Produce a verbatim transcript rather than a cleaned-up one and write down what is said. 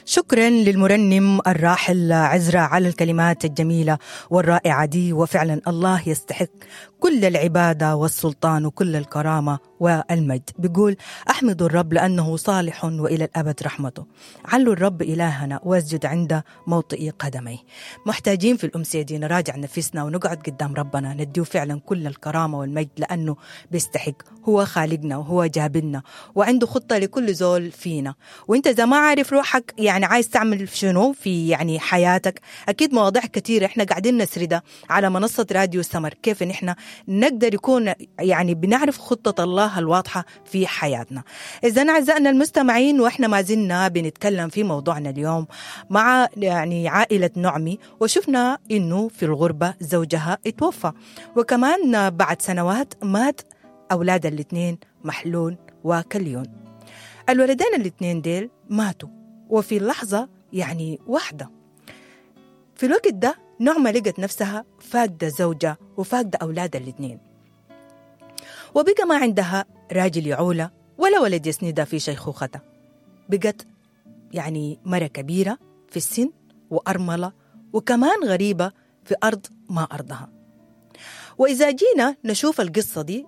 شكرا للمرنم الراحل عزرا على الكلمات الجميلة والرائعة دي. وفعلا الله يستحق كل العبادة والسلطان وكل الكرامة والمجد. بيقول: أحمد الرب لأنه صالح وإلى الأبد رحمته، علوا الرب إلهنا واسجد عند موطئ قدميه. محتاجين في الأمسية دي نراجع نفسنا ونقعد قدام ربنا نديه فعلا كل الكرامة والمجد لأنه بيستحق. هو خالقنا وهو جابلنا وعنده خطة لكل زول فينا. وانت إذا ما عارف روحك يعني عايز تعمل شنو في يعني حياتك، أكيد مواضيع كثيرة احنا قاعدين نسردها على منصة راديو سمر، كيف نحن نقدر يكون يعني بنعرف خطة الله الواضحة في حياتنا. إذا أعزائنا المستمعين، وإحنا ما زلنا بنتكلم في موضوعنا اليوم مع يعني عائلة نعمي، وشفنا إنه في الغربة زوجها اتوفى، وكمان بعد سنوات مات أولاد الاثنين محلون وكليون. الولدين الاثنين ديل ماتوا وفي لحظة يعني واحدة. في الوقت ده نعمة لقت نفسها فاقدة زوجة وفاقدة أولاد الاثنين، وبقى ما عندها راجل يعولة ولا ولد يسندها في شيخوختها. بقت يعني مرة كبيرة في السن وأرملة وكمان غريبة في أرض ما أرضها. وإذا جينا نشوف القصة دي